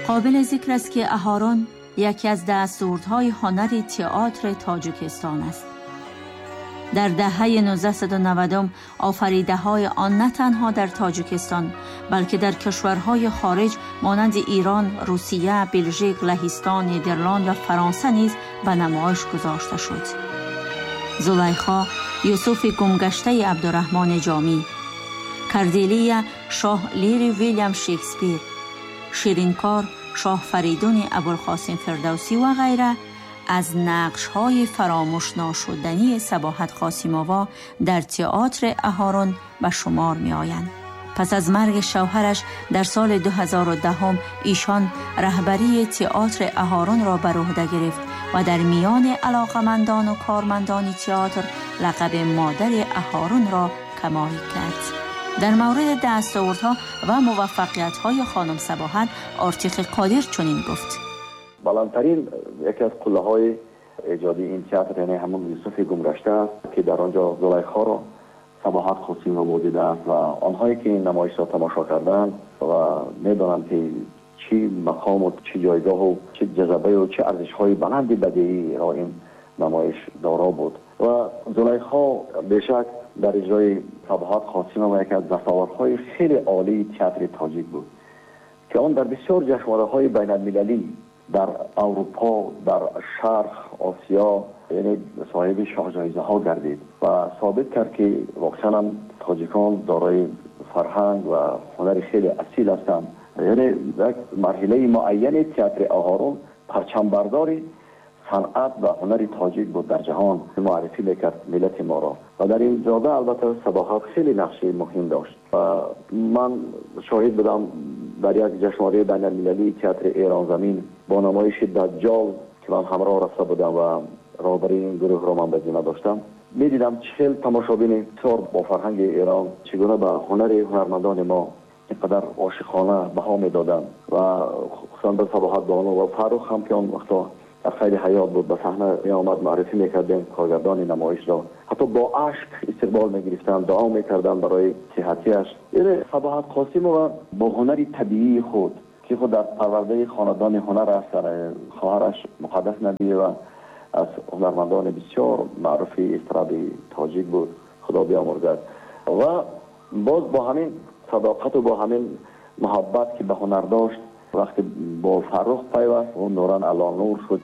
Қобили зикр аст, ки Аҳорун яке аз дастовардҳои ҳунари театри Тоҷикистон аст. Дар даҳаи 1990 офаридаҳои он на танҳо дар Тоҷикистон, балки дар кишварҳои хориҷ монанди Эрон, Русия, Белжик, Лаҳистон, Нидерланд ва Фаронса низ ба намоиш гузошта шуд. Зулайхо, Юсуфи гумгаштаи Абдураҳмони Ҷомӣ, Корделия, Шоҳ Лири Вилям Шекспир, Ширинкор, Шоҳ Фаридуни Абулқосим Фирдавсӣ ва ғайра аз нақшҳои фаромӯшношудании Сабоҳат Қосимова дар театри Аҳорун ба шумор меоянд. Пас аз марги шавҳараш дар соли 2010 эшон раҳбарии театри Аҳорунро бар уҳда гирифт ва дар миёни алоқамандон ва кормандони театр лақаби модари Аҳорунро камол кард. Дар мавриди дастовардҳо ва муваффақиятҳои хонум Сабоҳат Ортиқи Қодир чунин гуфт: Баландтарин яке аз қуллаҳои эҷодии ин театр, яъне ҳамон Юсуфи гумгашта аст, ки дар он ҷо Зулайхоро Сабоҳат Қосимова бозидааст ва онҳое ки ин намоишро тамошо карданд ва медонанд, ки чӣ мақому чӣ ҷойгоҳу чӣ ҷазбаю чӣ арзишҳои баланди бадеиро ин намоиш доро буд. Ва Зулайхо бешак дар иҷрои Сабоҳат Қосимова яке аз дастовардҳои хеле олии театри тоҷик буд, ки он дар бисёр ҷашнвораҳои байналмилалӣ дар Аврупо, дар Шарқ, Осиё, яъне соҳиби шоҳҷоизаҳо гардид ва собит кард, ки воқеан ҳам тоҷикон дорои фарҳанг ва ҳунари хеле асил ҳастанд. Яъне як марҳилаи муайяни театри Оҳорун парчамбардори санъат ва ҳунари тоҷик буд, дар ҷаҳон муаррифӣ мекард миллати моро. Ва дар ин ҷода албатта Сабоҳат хеле нақши муҳим дошт ва ман шоҳид будам дар як ҷашнвораи байналмилалии театри Эронзамин бо намоиши Даҷҷол, ки ман ҳамроҳ рафта будам ва роҳбарии ин гурӯҳро ман ба зимма доштам, медидам чӣ хел тамошобини бисёр бо фарҳанги Эрон чӣ гуна ба ҳунари ҳунармандони мо инқадар ошиқона баҳо медоданд ва хусусан ба Сабоҳат бону ва Фаррух ҳам, ки он вақто дар қайди ҳаёт буд, ба саҳна меомад, муаррифӣ мекардем коргардони намоишро, ҳатто бо ашк истиқбол мегирифтанд, дуо мекарданд барои сиҳатиаш. Яъне Сабоҳат Қосимова бо ҳунари табиии худ, ки худ дар парвардаи хонадони ҳунар аст, дар хоҳараш Муқаддас Набиева аз ҳунармандони бисёр маъруфи эстради тоҷик буд, Худо биомурзад, ва боз бо ҳамин садоқату бо ҳамин муҳаббат, ки ба ҳунар дошт, вақте бо Фаррух пайваст, ӯ нуран ало нур шуд.